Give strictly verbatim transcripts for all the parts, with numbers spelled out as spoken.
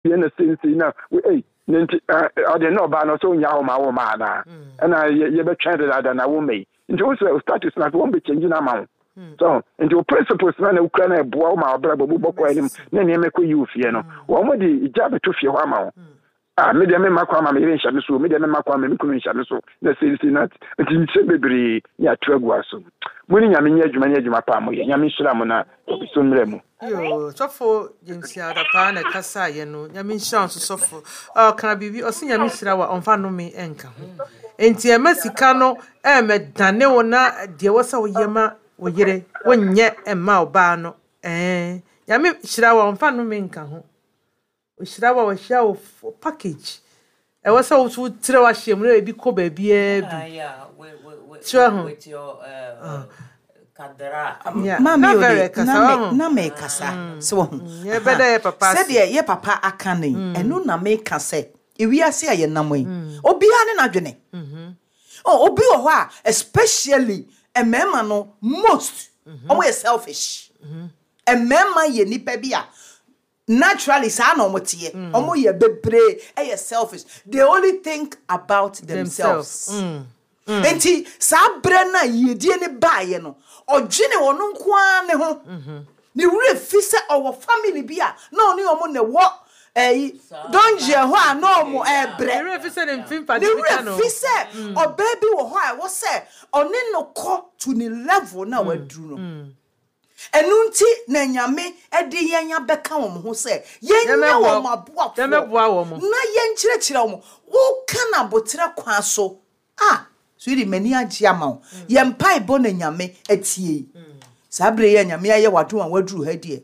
Yɛ na seisei na ei ne nti ɔde na ɔbaa no sɛ onya hɔ ma wo ma anaa ɛna yɛbɛtwɛn dedaada na wo ma yi. Nti wo sɛ status na afei wɔn bɛ change na ama wo so. Nti wo principles na na wokura na ɛboa wo ma ɔbrɛ bɔ bɔkɔ anim na nneɛma kɔ yi wo fie no, wɔn de gya bɛto fie hɔ ama wo. Ah, me deɛ, mema kwan ma me yere nhyɛ me so, me deɛ, mema kwan ma me kunu nhyɛ me so na seisei na nti nsɛm bebree ne ato agu aso mo ne Nyame nyɛ adwuma ne adwuma paa moyɛ. Nyame nhyira mo na ɔbi mmerɛ mu. Yo, Sɔfo James Adapaa na ɛkasa yɛ no. Nyame nhyira wo nso, sɔfo. Ɔka biribi, ɔse Nyame hyira wo a, ɔmfa nnome ɛnka ho. Enti ɛma sika no ɛmɛdane wo na deɛ wɔ sɛ woyɛ ma wo yere, wonyɛ ɛmma ɔbaa no. Ɛɛ, Nyame hyira wo a, ɔmfa nnome nka ho. Ɔhyira wo a, wahyira wo f- package. Ɛwɔ sɛ wo so wotrɛ w'ahyɛ mu na ebi kɔ baabiara bi. Ah, yeah, with, with, with, Kyerɛ ho. with your uh, uh, kadra. Yeah. Maame Na ode very kasa na me ho. na me kasa sɛ wahu. Yɛbɛda yɛ papa ase. Sɛdeɛ yɛ papa aka no yi, ɛno na meka sɛ ewiase a yɛnam yi, obiara ne n'adwene. Oh, obi wɔ hɔ a, especially mmarima no, most ɔmo yɛ selfish. Mmarima yɛ nipa bi a naturally saa na ɔmo teɛ. Ɔmo yɛ bebree ɛyɛ selfish. They only think about themselves. Mm. Nti saa berɛ no a yiedie ne baeɛ no, ɔdwene ɔno nko ara ne ho, ne werɛ fi sɛ ɔwɔ family bi a na ɔne ɔmo na ɛwɔ ɛyi dɔngyeɛ hɔ a na ɔmo ɛɛbrɛ. Ne werɛ fi sɛ ne mfe mpade Ne bi ka werɛ no. fi sɛ ɔbaa bi wɔ hɔ a ɛwɔ sɛ ɔne no kɔ to ne level na waduru no. Ɛno nti na Nyame de yɛn abɛka wɔn ho sɛ yɛnyɛ Yɛmmɛboa- wɔn aboafoɔ yɛmmɛboa wɔn. na yɛnkyerɛkyerɛ wɔn. Woka no abotrɛ kwan so a, sweetie, m'ani agye ama wo. Yɛn mpaebɔ na Nyame atie yi. Saa bere yi a Nyame ayɛ w'adom a waduru ha deɛ,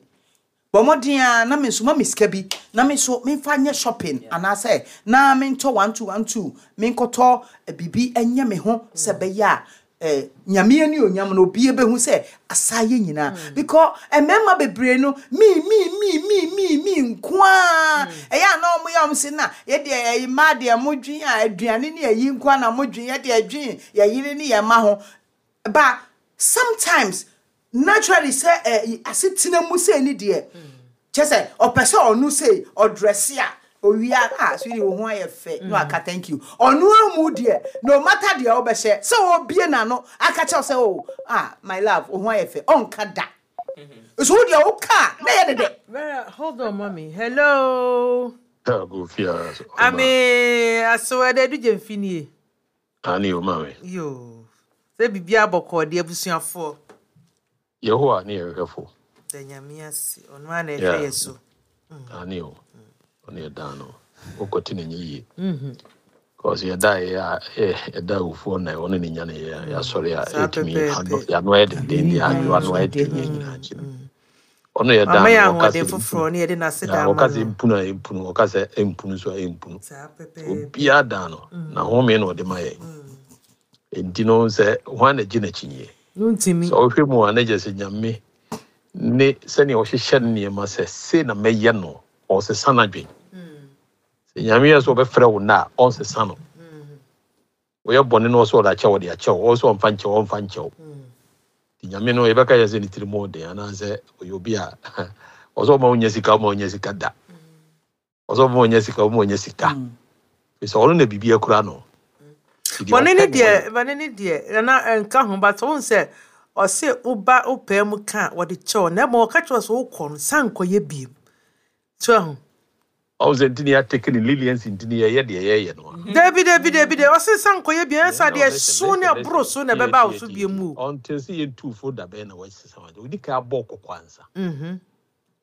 bɔ mmɔden a na me nso ma me sika bi na me nso memfa nyɛ shopping anaasɛ na mentɔ one two one two, menkɔtɔ eh, biribi nyɛ me ho sɛ bɛyɛ a eh, Nyame ani onyam no obi bɛhu sɛ asa yɛ nyinaa, because mmarima bebree no mi mi mi mi mi mi nko a ɛyɛ a na ɔmo yɛ ɔmo se na yɛdeɛ ɛyi mmaa deɛ, modwen a aduane ne ayi nko a na modwen, yɛdeɛ dwen yɛyere ne yɛn mma ho. But sometimes naturally sɛ ɛ asetena mu sɛ ni deɛ kyɛ sɛ ɔpɛ sɛ ɔno sɛ ɔdress a owia a, sweetie, wo ho ayɛ fɛ, na waka thank you. Ɔno amu deɛ, no matter deɛ ɔbɛhyɛ sɛ ɔbie n'ano aka kyerɛw sɛ, "Oh, ah, my love, wo ho ayɛ fɛ," ɔnka da. So wo deɛ woka a na yɛ dede. Vera, hold on, mommy. Hello. Go fia. Ame aso ɛdɛ du gye mfinie. Ani o, maame. Yo. Sɛ biribi abɔkɔ deɛ, abusuafoɔ. Yehowa ne yɛhwɛfo. Da Nyame ase. Ɔno ara na ɛhwɛ Yeah. yɛ so. Ani o. Ɔne yɛdan no. Wokɔte ne nyɛ yie. Cause yɛda yɛ a yɛda awufoɔ na ɔne ne nya ne yɛ yɛasɔre a Saa ɛtumi pɛpɛɛpɛ. ano yɛano ayɛ denden deɛ adwo ano ayɛ den yɛ nyinaa akyi no. Ɔno yɛdan Mama yɛ no ɔka ahoɔden sɛ foforɔ ne yɛde n'ase Yeah, da ama ɔka sɛ no. mpunu a ɛmpunu, ɔka sɛ ɛmpunu nso a ɛmpunu. Saa pɛpɛɛpɛ. Obiara dan no na home na ɔde ma yɛn. Enti no sɛ hwan na gye n'akyi No ntimi. sɛ ɔhwɛ mu a, na gye sɛ Nyame ne sɛnea ɔhyehyɛ ne nneɛma sɛ sei na mɛyɛ no, ɔsesa n'adwen. Sɛ Nyame yɛ sɛ ɔbɛfrɛ wo na a, ɔnsesa no. Woyɛ bɔne no, ɔsɛ ɔde akyɛw, ɔde akyɛw. Ɔwɔ sɛ ɔmfa nkyɛw, ɔmfa nkyɛw. Nti Nyame no yɛbɛka yɛ sɛ ne tiri mu ɔden anaasɛ ɔyɛ obi a ɔsɛ ɔma wonya sika, ɔma wonya sika da, ɔsɛ ɔma wonya sika, ɔma wonya sika, ɛfiri sɛ ɔno na biribi akura no. Nti deɛ Bɔne ne ɔpɛ na deɛ, ɔyɛ. Bɔne ne deɛ, na nka ho, but wɔn sɛ ɔse woba wopɛɛ mu ka a, wɔde kyɛw na mmom ɔka kyerɛ wo sɛ wokɔ no san nkɔyɛ biem. So ho. Ɔwo sɛ nti ne yɛatake ne leniency, nti ne yɛyɛ deɛ yɛyɛ no a. Dabi, dabi, dabi, dabi. Ɔse san nkɔyɛ biem ɛsɛ No, deɛ listen, so ne listen, ɛboro listen. so na Tie, ɛbɛba wo tie, so tie, biem tie. o. Until sɛ yɛntu fo da bɛn na wɔasesa wade ɔdi kan abɔ kɔkɔ ansa. Mhm.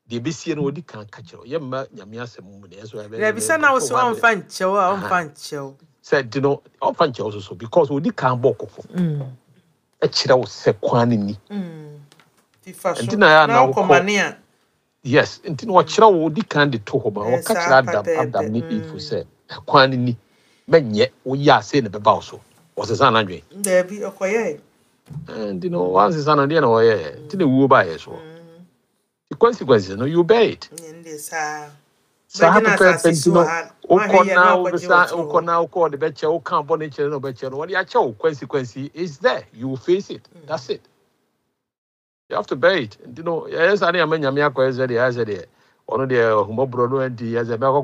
Deɛ ɛbɛsie no, ɔdi kan ka kyerɛ wo. Yɛmma Nyame asɛm mu ne ɛso ɛbɛyɛ Dabi, sɛ na wo sɛ ɔmfa nkyɛw a, ɔmfa nkyɛw. Sɛ nti no ɔmfa nkyɛw so so because ɔdi kan bɔ kɔkɔ ɛkyerɛ wo sɛ kwan no ni. Fifa so Nti na ɛyɛ a na na wokɔ wokɔ mane a. Yes, nti na ɔkyerɛ wo, ɔdi kan de to hɔ ma Ɛyɛ ɔka saa kyerɛ Adam pɛpɛɛpɛ. Adam ne Eve sɛ kwan no ni, mɛnyɛ woyɛ a sei na ɛbɛba wo so. Ɔsesa n'adwen? Dabi, ɔkɔyɛɛ. Eh, nti no wansesa no deɛ na wɔyɛɛ nti na wuo baeɛ soɔ. The consequences no, you bear it. Ɛn deɛ saa. Saa Bɛgye no pɛpɛɛpɛ. asase Nti so no wɔ ha. Wahwɛ wokɔ yie na na wakɔgye wobɛsa wɔ soro wokɔ hɔ. na wokɔ ɔde bɛkyɛ woka bɔne kyerɛ na ɔbɛkyɛ no, wɔde akyɛ wo. Consequence is there, you will face it. That's it, you have to bear it. Nti no yɛyɛ saa ne yɛma Nyame akɔyɛ sɛ deɛ ɛyɛ sɛ deɛ Ɔno deɛ, ɔhumɔborɔ no nti yɛ sɛ mɛkɔ.